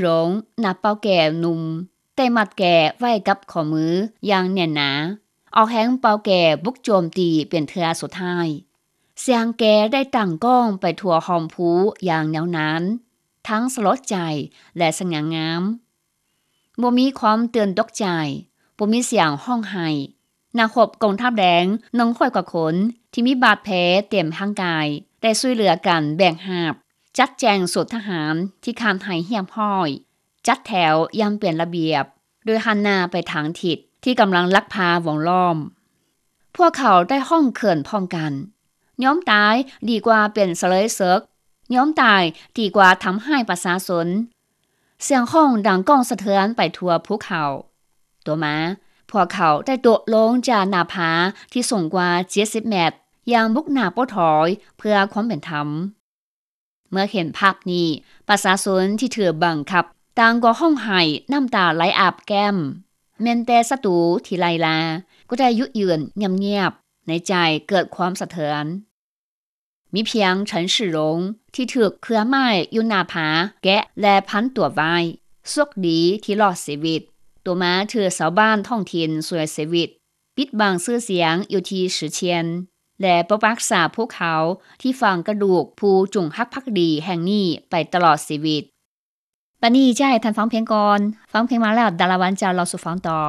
ຫຼງ ນັກເປົ່າແກໜຸ່ມ ໄດ້ມັດແກໄວ້ກັບຂໍ້ມືຢ່າງແໜ້ນໜາ, ອອກແຮງເປົ່າແກບຸກໂຈມຕີເປັນເທື່ອສຸດທ້າຍ. ສຽງແກໄດ້ດັງກ້ອງໄປທົ່ວຮ່ອມພູຢ່າງຍາວນານ, ທັງສະຫຼົດໃຈ ແລະ ສະຫງ່າງາມ. ບໍ່ມີຄວາມຕື່ນຕົກໃຈ, ບໍ່ມີສຽງຮ້ອງໄຫ້. ນັກຮົບກອງທັບແດງໜຶ່ງຮ້ອຍກວ່າຄົນ ທີ່ມີບາດແຜເຕັມຮ່າງກາຍ ໄດ້ຊ່ວຍເຫຼືອກັນແບກຫາບ, ຈັດແຈງສູດທະຫານທີ່ຂາດໃຫ້ຮຽບຮ້ອຍ, ຈັດແຖວຢ່າງເປັນລະບຽບ ໂດຍຫັນໜ້າໄປທາງທິດທີ່ກຳລັງລັກພາວົງລ້ອມ. ພວກເຂົາໄດ້ຮ້ອງເຂີນພ້ອມກັນ, ຍອມຕາຍດີກວ່າເປັນສະເລີຍເສິກ, ຍອມຕາຍດີກວ່າທຳຮ້າຍປະຊາຊົນ. ສຽງຮ້ອງດັງກ້ອງສະເທືອນໄປທົ່ວພູເຂົາ. ຕໍ່ມາ, ພວກເຂົາໄດ້ໂດດລົງຈາກໜ້າຜາທີ່ສູງກວ່າເຈັດສິບແມັດ ຢ່າງບຸກໜ້າໂປ້ຖອຍເພື່ອຄວາມເປັນທຳ. ເມື່ອເຫັນພາບນີ້, ປະຊາຊົນທີ່ຖືກບັງຄັບຕ່າງກໍຮ້ອງໄຫ້, ນ້ຳຕາໄຫຼອາບແກ້ມ. ແມ່ນແຕ່ສັດຕູທີ່ໄລ່ລ່າກໍໄດ້ຢຸດຢືນງຽບໆ, ໃນໃຈເກີດຄວາມສະເທືອນ. ມີພຽງ ເສີນຊິຫຼົງ ທີ່ຖືກເຄືອໄມ້ຢູ່ໜ້າຜາແກະ ແລະ ພັນຕົວໄວ້. ໂຊກດີທີ່ລອດຊີວິດ. ຕໍ່ມາຖືກຊາວບ້ານທ້ອງຖິ່ນຊ່ວຍຊີວິດ, ປິດບັງຊື່ສຽງຢູ່ທີ່ຊິຊຽນ ແລະ ປົກປັກສາພູເຂົາທີ່ຝັງກະດູກຜູ້ຈົງຮັກພັກດີແຫ່ງນີ້ໄປຕະຫຼອດຊີວິດ. ບັດນີ້ຈະໃຫ້ທ່ານຟັງເພງກ່ອນ. ຟັງເພງມາແລ້ວ ດາລາວັນຈະເລົ່າສູ່ຟັງຕໍ່.